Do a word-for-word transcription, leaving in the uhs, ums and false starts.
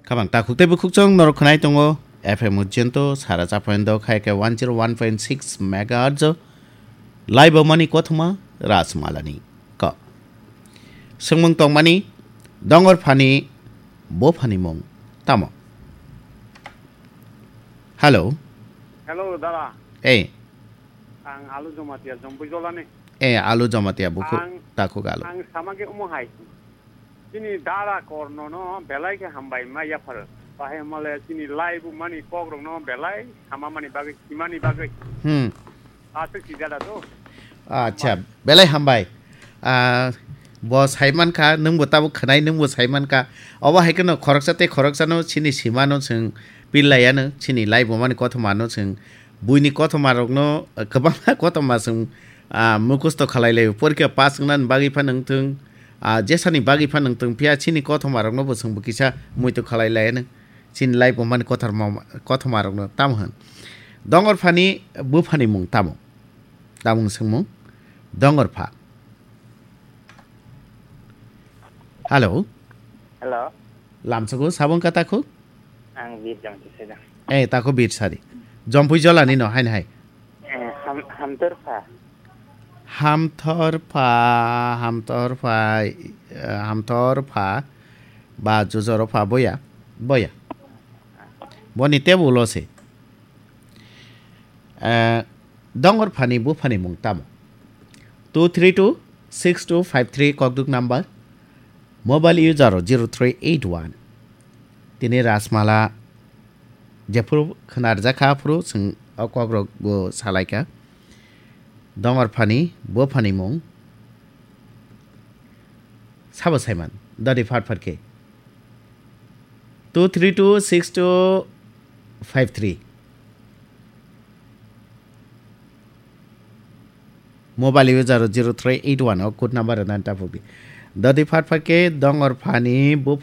Kabang takhuk tei bukhuk chwng norok khwnai tongo F M Ujjento sara chapoindo khai khe one zero one point six megahertz o live o mani kothoma Rajmalani kok. Swngmung tongmani dongor phani bo phani mung tamo? Hello. Hello, dada. Ei. Ang Alu Jamatia, Jompui Jolani. Eh, Alu Jamatia, bukhuk, Ang, takhuk Alu. Ang sama khe omo hai. Chini dada korno no belai khe hambai ma yaphar. Bahai male chini live mani kok rok no belai sama mani bagwi, simani bagwi. Hmm. Aswk si dada to. Acha, belai hambai. Ah, bo saiman kha, nwng bo tabuk khwnai, nwng bo saiman kha. Obo hai kheno khoroksa tei khoroksa no chini sima no chwng pillai ano, chini live mani kothoma no chwng Buini kothoma rokno, eh, kwbangma kothoma chwng, ah, mukhusto khalai laio. Porikha pass wngnani bagwi phano wngthung, ah, jesani bagwi phano wngthung, phiya chini kothoma rokno bo chwng bo kisa muitu khalai laianw. Chini life bo mani kothorma, kothoma rokno tamo hwn. Dongor phani buphani mung tamo? Tamung swngmung? Dongor pha. Hello. Hello. Lamsogo sabong kata khuk? Ang Bir Jang Tisai da. Eh, tako Bir Sari. Jompui Jolani no, hain hai. Eh, Ham-, Hamtor Pha. Hamthor Pha, Hamthor Pha, eh, Hamthor Pha, ba Jujoro Pha, boya, boya. Boni tebo ulo se. Eh, dongor phani buphani mung tamo? Two three two six two five three kokduk number, mobile user zero three eight one. Tini Rajmala jephuru khwnarjakha aphuru chwng o kokrok bo salaikha. Dongor phani buphani mung sabo saiman dadi phat phat khe. Two three two six two five three. Mobile user zero three eight one o code number rwna ta phubi. Dodi phat phat khe dongor phani bo